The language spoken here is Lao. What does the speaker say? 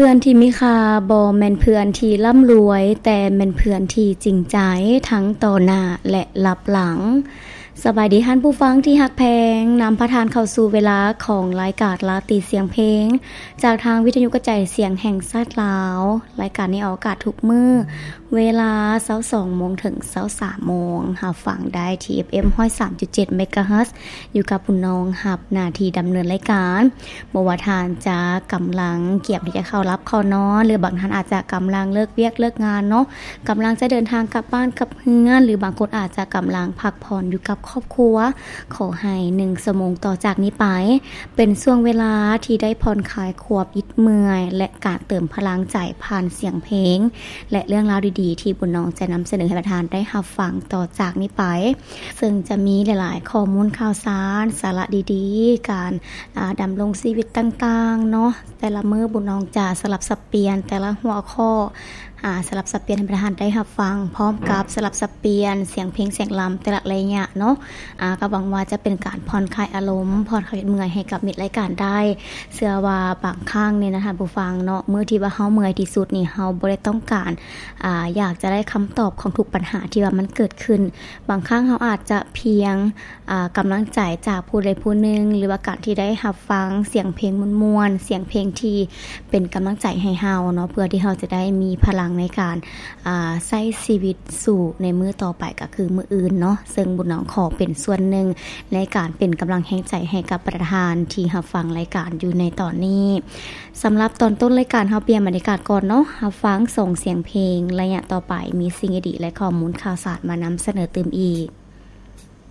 ເພື່ອນທີ່ມີຄ່າບໍ່ແມ່ນເພື່ອນທີ່ລ່ຳລວຍ, ແຕ່ແມ່ນເພື່ອນທີ່ຈິງໃຈ ທັງຕໍ່ໜ້າ ແລະ ລັບຫຼັງ. ສະບາຍດີທ່ານຜູ້ຟັງທີ່ຮັກແພງ, ນຳພາທ່ານເຂົ້າສູ່ເວລາຂອງລາຍການລາຕີສຽງເພງ ຈາກທາງວິທະຍຸກະຈາຍສຽງແຫ່ງຊາດລາວ. ລາຍການນີ້ອອກອາກາດທຸກມື້ ເວລາຊາວສອງໂມງເຖິງຊາວສາມໂມງ, ຮັບຟັງໄດ້ທີ່ ເອັຟເອັມຮ້ອຍສາມຈຸດເຈັດເມກາເຮີດ ຢູ່ກັບບຸນນອງຮັບໜ້າທີ່ດຳເນີນລາຍການ. ບໍ່ວ່າທ່ານຈະກຳລັງກຽມທີ່ຈະເຂົ້າຫຼັບເຂົ້ານອນ ຫຼືບາງທ່ານອາດຈະກຳລັງເລີກວຽກເລີກງານເນາະ, ກຳລັງຈະເດີນທາງກັບບ້ານກັບເຮືອນ ຫຼືບາງຄົນອາດຈະກຳລັງພັກຜ່ອນຢູ່ກັບຄອບຄົວ, ຂໍໃຫ້ໜຶ່ງຊົ່ວໂມງຕໍ່ຈາກນີ້ໄປ ເປັນຊ່ວງເວລາທີ່ໄດ້ຜ່ອນຄາຍຄວາມອິດເມື່ອຍ ແລະ ການເຕີມພະລັງໃຈຜ່ານສຽງເພງ ແລະ ເລື່ອງລາວດີໆ ທີ່ບຸນນອງຈະນຳສະເໜີໃຫ້ທ່ານໄດ້ຮັບຟັງຕໍ່ຈາກນີ້ໄປ, ເຊິ່ງຈະມີຫຼາຍໆຂໍ້ມູນຂ່າວສານ, ສາລະດີໆ, ການ ອາ ດຳລົງຊີວິດຕ່າງໆເນາະ. ແຕ່ລະມື້ບຸນນອງຈະສະຫຼັບສັບປ່ຽນແຕ່ລະຫົວຂໍ້ ອາ ສະຫຼັບສັບປ່ຽນໃຫ້ທ່ານໄດ້ຮັບຟັງ, ພ້ອມກັບສະຫຼັບສັບປ່ຽນສຽງເພງສຽງລຳແຕ່ລະໄລຍະເນາະ. ອາ ກໍຫວັງວ່າຈະເປັນການຜ່ອນຄາຍອາລົມ, ຜ່ອນຄາຍເມື່ອຍໃຫ້ກັບມິດລາຍການໄດ້. ເຊື່ອວ່າບາງຄັ້ງນີ້ນະທ່ານຜູ້ຟັງເນາະ, ມື້ທີ່ວ່າເຮົາເມື່ອຍທີ່ສຸດນີ້ ເຮົາບໍ່ໄດ້ຕ້ອງການ ອາ ຢາກຈະໄດ້ຄຳຕອບຂອງທຸກບັນຫາທີ່ວ່າມັນເກີດຂຶ້ນ. ບາງຄັ້ງເຮົາອາດຈະພຽງ ອາ ກຳລັງໃຈຈາກຜູ້ໃດຜູ້ໜຶ່ງ ຫຼືວ່າການທີ່ໄດ້ຮັບຟັງສຽງເພງມ່ວນໆ, ສຽງເພງທີ່ເປັນກຳລັງໃຈໃຫ້ເຮົາເນາະ, ເພື່ອທີ່ເຮົາຈະໄດ້ມີພະລັງໃນການ ອາ ໃຊ້ຊີວິດສູ້ໃນມື້ຕໍ່ໄປ ກໍຄືມື້ອື່ນເນາະ. ເຊິ່ງບຸນນອງຂໍເປັນສ່ວນໜຶ່ງໃນການເປັນກຳລັງແຮງໃຈໃຫ້ກັບປະທານທີ່ຮັບຟັງລາຍການຢູ່ໃນຕອນນີ້. ສຳລັບຕອນຕົ້ນລາຍການ ເຮົາປ່ຽນບັນຍາກາດກ່ອນເນາະ, ຮັບຟັງສອງສຽງເພງ. ໄລຍະຕໍ່ໄປມີສິ່ງດີໆ ແລະ ຂໍ້ມູນຂ່າວສານມານຳສະເໜີຕື່ມອີກ.